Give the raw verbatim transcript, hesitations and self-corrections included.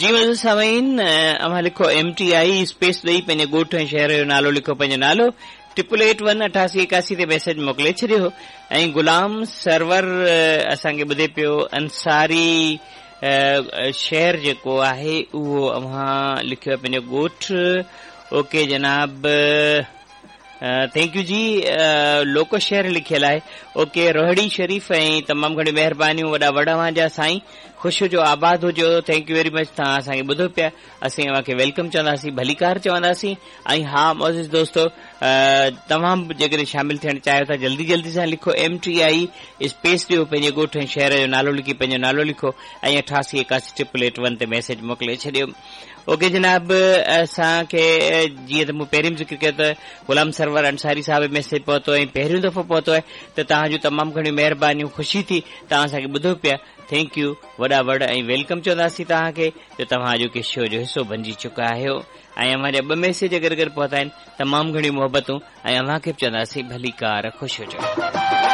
جي معزز سامعين، اوهان لکو ايم ٽي I, space ڏئي پنهنجي ڳوٺ ۽ شهر جو نالو لکو، پنهنجو نالو ٽرپل ايٽ ون اٺاسي ايڪاسي تي ميسيج موڪلي ڇڏيو. ۽ غلام سرور اسان کي ٻڌي پيو، انصاري شهر جيڪو آهي اهو اوهان لکيو پنهنجو ڳوٺ. اوڪي جناب، thank you جي. لوڪو شهر لکيل آهي، اوڪي، روهڙي شريف. ۽ تمام گهڻيون مهربانيون، وڏا وڙ اوهان جا سائين، خوش هجو، آباد هجو. Thank you very much. توهان اسان کي ٻڌو پيا، اسين اوهان کي welcome چونداسين، ڀليڪار چونداسين. ۽ ها معزز دوستو، توهان به جيڪڏهن شامل ٿيڻ چاهيو ٿا، جلدي جلدي سان لکو ايم ٽي I, space ڏيو، پنهنجي ڳوٺ ۽ شهر جو نالو لکي پنهنجو نالو لکو ۽ اٺاسي ايڪاسي ٽرپل ايٽ ون تي ميسيج موڪلي ڇڏيو. اوڪي جناب، اسان کي جيئن ته مون پهرين به ذڪر ڪيو ته غلام سرور انصاري صاحب ميسيج پهتو ۽ پهريون دفعو پهتو آهي، ته توهان جون تمام گهڻيون مهربانيون، خوشي ٿي توهان اسان کي ٻڌو پيا. Thank you, وڏا وڙ ۽ welcome چونداسين توهان کي جو توهان اڄوڪي شو جو حصو بنجي چڪا آهيو. ۽ اوهان جا ٻه ميسيج گڏ گڏ پهتا آهن، تمام گهڻيون محبتون ۽ اوهان کي به چونداسين ڀليڪار، خوش هجو.